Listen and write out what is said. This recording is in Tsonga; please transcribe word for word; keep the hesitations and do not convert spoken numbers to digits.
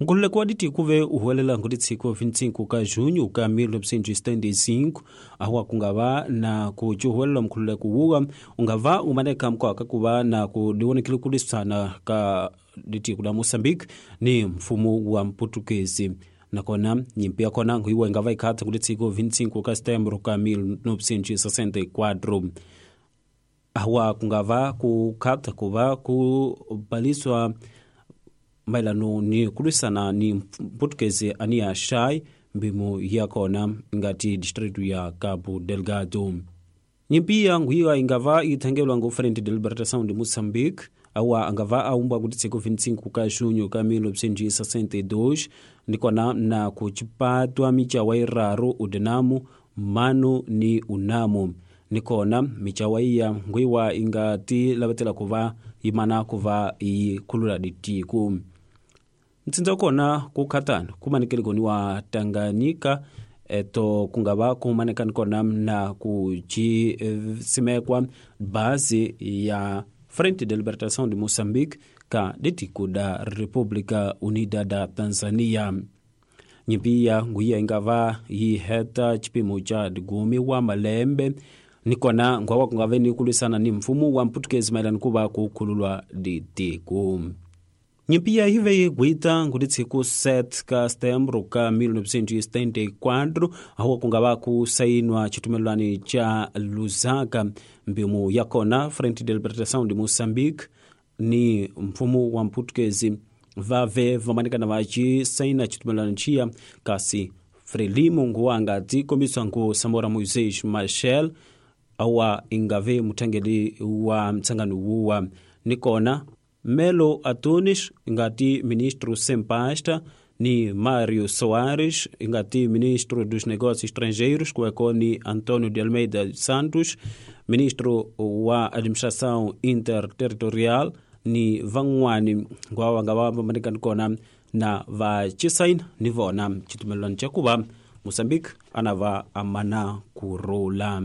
Nkululeko wa ditiko ve u huwelela ngutitsiko vinte e cinco ka junho ka mil novecentos e setenta e cinco awa kungava na kucuhuwelela mkhululeko wuwa ungava umaneka mkwaka kuva na kudiwonekile kulisana ka ditiko la Moçambique ni mfumo wa Mputukezi. Nakona nyimpi ya kona nguiwa ingava ikhatha ngutitsiko vinte e cinco ka setembro ka mil novecentos e sessenta e quatro awa kungava kukhatha kuva kubaliswa maelano ni kulwisana ni Mputukezi ania shai mbimu yakona ngati distrito ya Cabo Delgado. Nyimpi ya nguiwa ingava ithangelwa ngu Frente de Libertação de Moçambique awa angava aumbwa kuti tsiko vinte e cinco ka junho ka mil novecentos e sessenta e dois nikona na kuchipatwa michawa iraru udenamu mano ni unamu nikona michawa iya nguiwa ingati lavatela kuva imana kuva ikhulula ditiku. Mtsindza kona kukhatana kumanekele koni wa Tanganyika eto kungava kumanekani kona na kuchisimekwa base ya Frente de Libertação de Moçambique ka ditiku da República Unida da Tanzania. Nyimpi ya nguiya ingava yiheta chipimo cha digumi wa malembe nikona ngwawa kungave ni kulwisana ni mfumo wa Mputukezi maelano kuva kukhululwa ditiku. Nyimpi ya hive yigwita ngutitsiku sete ka setembro ka mil novecentos e setenta e quatro awa kungava kusainwa chitumelwani cha Lusaka mbimu yakona Frente de Libertação de Moçambique ni mfumo wa Mputukezi vave vamanikana vachisaina chitumelwani chiya kasi Frelimo nguwanga tikombiswa ngu Samora Moisés Machel awa ingave muthangeli wa mtsangano wuwa nikona Melo Antunes ingati ministro sem pasta ni Mário Soares ingati ministro dos Negócios Estrangeiros kuekoni Antônio de Almeida Santos ministro wa Administração Interterritorial ni van'wani ngwawa nga va manikani kona na va chisaina ni vona chitumelwani cha kuva Moçambique anava amana kurula.